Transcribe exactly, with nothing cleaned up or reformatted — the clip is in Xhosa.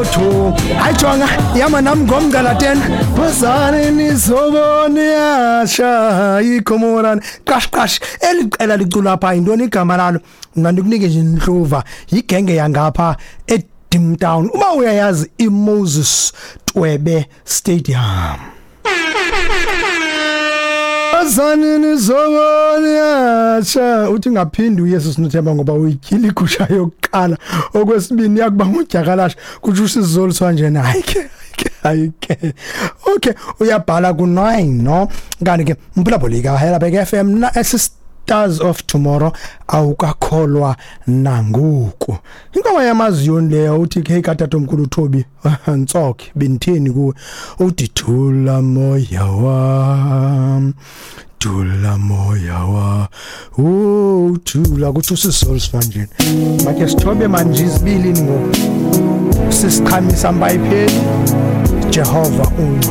Two. Hayi jonga, ihamba nam ngomgca la ten. Wozani nizobona iyasha ikhomorani. Qash qash, eli qela licula pha, yintoni igama lalo? Mna ndikunike nje inhluva, yigenge yangapha eDimtown. Uma uyayazi iMoses Twebe Stadium. Wozani nizobona iyasha. Uthi ngaphindi uYesu sinothemba ngoba uyityhila igusha yokuqala, okwesibini yakuba ngudyakalashe, kutsho usizoliswa njena. Hayi ke, hayi ke, okay, uyabhala ku nine no. Kanti ke mphulaphuli Heidelberg F M na Stars of Tomorrow, awukakholwa nangoku inkomo yamaziyoni leyo. Uthi ke katatomkhulu uThobi Ntsokhe, benditheni kuwe? Uthi thula moya wam, thula moya wa, oh thula, kuthi usizoliswa njena. Make sithobe manje izibili ngoku sisiqhamisa mbayipheli. Jehova ungcwele.